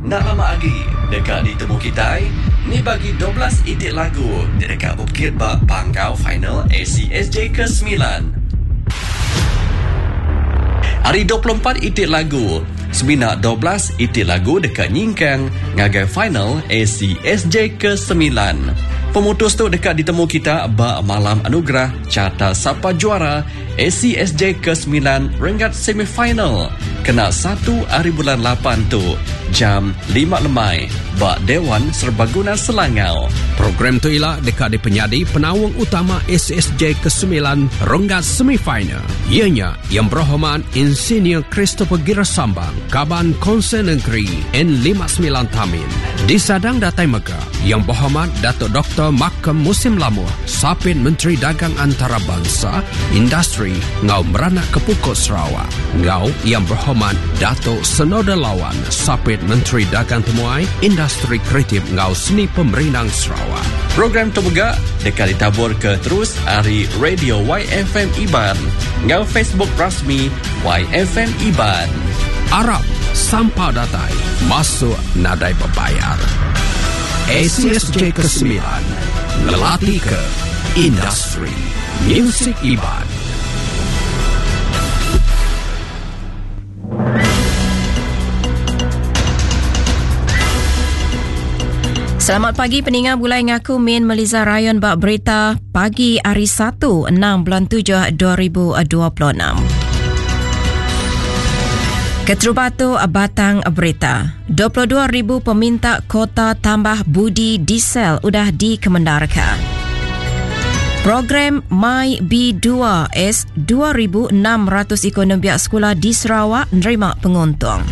Enda lama agi deka ditemu kitai ni bagi 12 iti lagu ti deka bepekit ba panggau final ACSJ ke semilan. Ari 24 iti lagu, semina 12 iti lagu deka nyingkang ngagai final ACSJ ke semilan. Pemutus tu deka ditemu kita ba Malam Anugerah Carta Sapa Juara ACSJ ke semilan renggat semifinal kena satu ari bulan lapan tu jam lima lemai ba Dewan Serbaguna Selangau. Program tu ila deka dipenyadi penaung utama ACSJ ke semilan renggat semifinal iya nya Yang Berhormat Insinyur Christopher Gira Sambang, Kaban Konsel Negeri N59 Tamin. Disadang datai mega Yang Berhormat Datuk Doktor Malcolm Musim Lamuh, Sapit Menteri Dagang Antarabansa, Industri enggau Meranak ke Pukuk Sarawak enggau Yang Berhormat Datuk Senoda Lawan, Sapit Menteri Dagang Temuai, Industri Kreatif enggau Seni Pemerindang Sarawak. Program tu mega deka ditaburka terus ari Radio YFM Iban enggau Facebook rasmi YFM Iban. Arap sampal datai masuk nadai bebayar. ACSJ ke-9 ngelatika industri musik Iban. Selamat pagi peninga bulai ngaku Min Meliza Rayon ba berita pagi hari 1 6 bulan 7 2026. Keterubah tu batang berita. 22,000 peminta kota tambah budi diesel udah dikemendarka. Program My B2S 2,600 iku nembiak sekula di Sarawak nerima penguntung.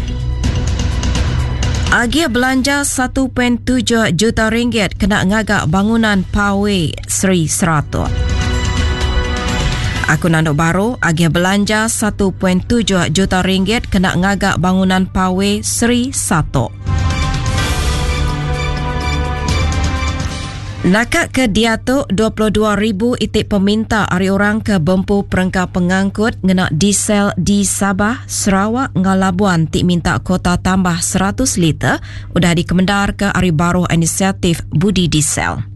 Agih belanja 1.7 juta ringgit kena ngaga bangunan Pawe Seri Seratok. Aku nandu baru, agih belanja 1.7 juta ringgit kena ngaga bangunan Pawe Seri Satok. Naka ke diatu, 22,000 iti peminta ari orang ke bempu perengka pengangkut ngena diesel di Sabah, Sarawak enggau Labuan ti minta kuota tambah 100 liter udah dikemendarka ari baruh inisiatif Budi Diesel.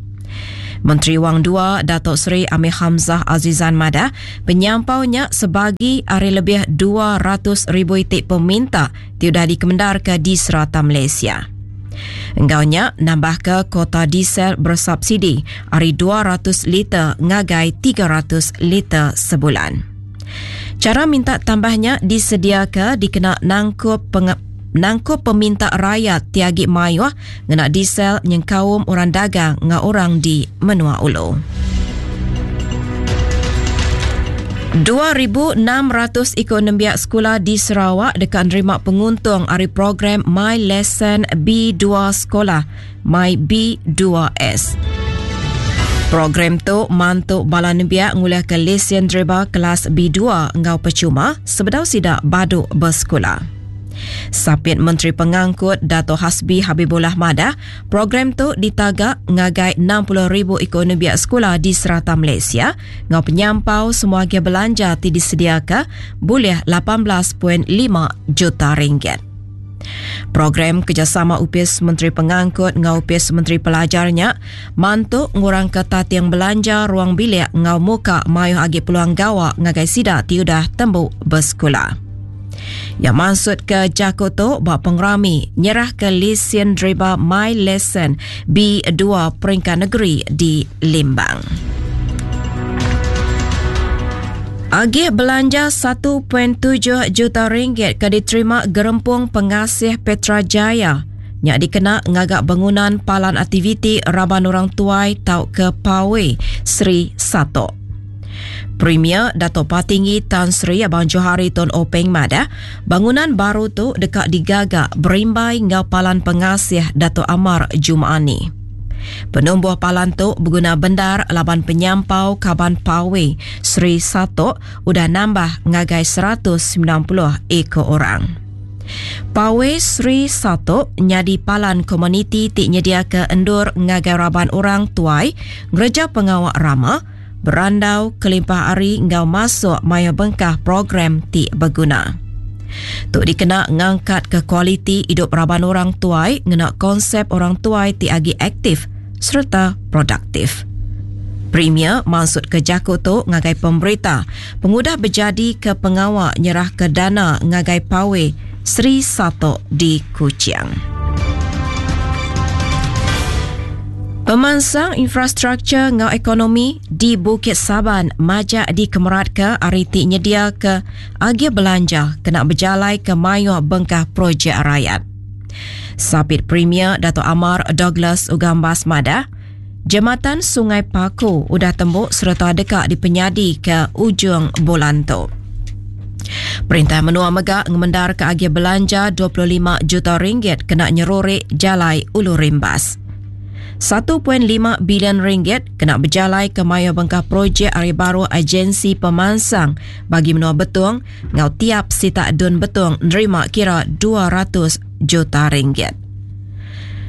Menteri Wang Dua Datuk Seri Amir Hamzah Azizan madah, penyampau nya sebagi ari lebih 200,000 iti peminta ti udah dikemendarka di serata Malaysia. Enggau nya, nambahka kuota diesel bersubsidi ari 200 liter ngagai 300 liter sebulan. Chara minta tambah nya disediaka dikena nangkup nangkup peminta rayat ti agi mayuh ngena diesel nyengkaum orang dagang enggau orang di menua ulu. 2,600 iku nembiak sekula di Sarawak deka nerima penguntung ari program My Lesson B2 Sekolah, My B2S. Program tu mantu bala nembiak ngulihka lesen deriba kelas B2 enggau pechuma sebedau sida badu besekula. Sapit Menteri Pengangkut Dato Hasbi Habibullah madah, Program tu ditaga ngagai 60,000 iku nembiak sekula di serata Malaysia enggau penyampau semua agih belanja ti disediaka bulih 18.5 juta ringgit. Program kerjasama Opis Menteri Pengangkut enggau Opis Menteri Pelajar nya mantu ngurangka tating belanja ruang bilik enggau muka mayuh agi peluang gawa ngagai sida ti udah tembu besekula. Iya mansutka jaku tu ba pengerami nyerahka lisin deriba My Lesson B2 peringkat negeri di Limbang. Agih belanja 1.7 juta ringgit ke diterima Gerempung Pengasih Petra Jaya nya dikena ngaga bangunan palan aktiviti raban orang tuai tauka Pawe Sri Satok. Premier Datuk Patinggi Tan Sri Abang Johari Tun Openg madah, bangunan baru tu deka digaga berimbai enggau Palan Pengasih Datuk Amar Juma'ani. Penumbuh palan tu beguna bendar laban penyampau kaban Pawe Sri Satok udah nambah ngagai 190 iku orang. Pawe Sri Satok nyadi palan komuniti ti nyediaka endur ngagai raban orang tuai ngereja pengawa rama, berandau kelimpah ari enggau masuk mayuh bengkah program ti beguna. Tu dikena ngangkatka kualiti idup raban orang tuai ngena konsep orang tuai ti agi aktif sereta produktif. Premier mansutka jaku tu ngagai pemberita pengudah bejadika pengawa nyerahka dana ngagai Pawe Sri Satok di Kuching. Pemansang infrastruktur enggau ekonomi di Bukit Saban majak dikemeratka ari ti nyediaka agih belanja kena bejalaika mayuh bengkah projek rayat. Sapit Premier Datuk Amar Douglas Ugambas madah, Jematan Sungai Paku udah tembu sereta deka dipenyadika ujung bulan tu. Perintah menua mega ngemendarka agih belanja 25 juta ringgit kena nyeruri jalai Ulu Rimbas. 1.5 bilion ringgit kena bejalaika mayuh bengkah projek ari baruh Agensi Pemansang Bagi Menua Betong enggau tiap sitak Dun Betong nerima kira 200 juta ringgit.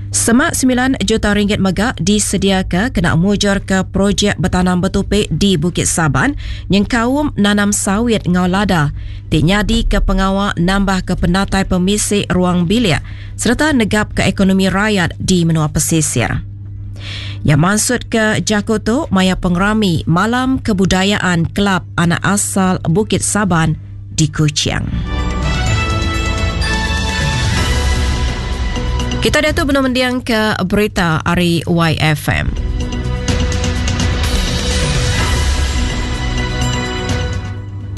Semak 9 juta ringgit mega disediaka kena mujurka projek betanam betupi di Bukit Saban nyengkaum nanam sawit enggau lada ti nyadika pengawa nambahka penatai pemisi ruang bilik sereta negapka ekonomi rayat di menua pesisir. Iya mansutka jaku tu maya pengerami Malam Kebudayaan Kelab Anak Asal Bukit Saban di Kuching. Kita diatu benung mending ke berita ari YFM.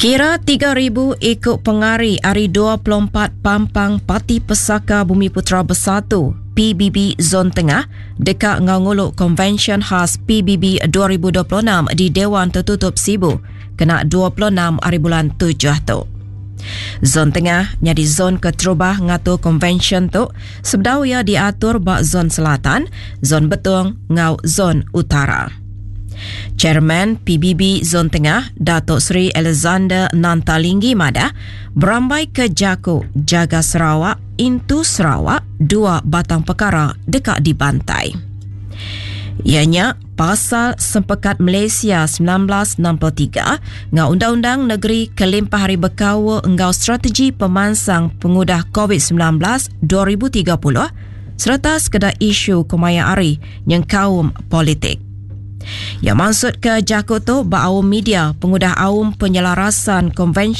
Kira 3,000 iku pengari ari 24 pampang Parti Pesaka Bumiputera Bersatu, PBB Zon Tengah, deka enggau ngulu Konvensyen Khas PBB 2026 di Dewan Tertutup Sibu kena 26 hari bulan tujuh tu. Zon Tengah nyadi zon keterubah ngatur konvensyen tu sebedau iya diatur ba Zon Selatan, Zon Betong enggau Zon Utara. Chairman PBB Zon Tengah, Dato Sri Alexander Nanta Linggi madah, berambai ke jaku Jaga Sarawak, Intu Sarawak, dua batang pekara deka dibantai. Iya nya pasal Sempekat Malaysia 1963 enggau Undang-Undang Negeri kelimpah ari bekaul enggau strategi pemansang pengudah Covid 19 2030 sereta sekeda isu kemaya hari nyengkaum politik. Iya mansutka jaku tu ba aum media pengudah aum penyelarasan konvensyen.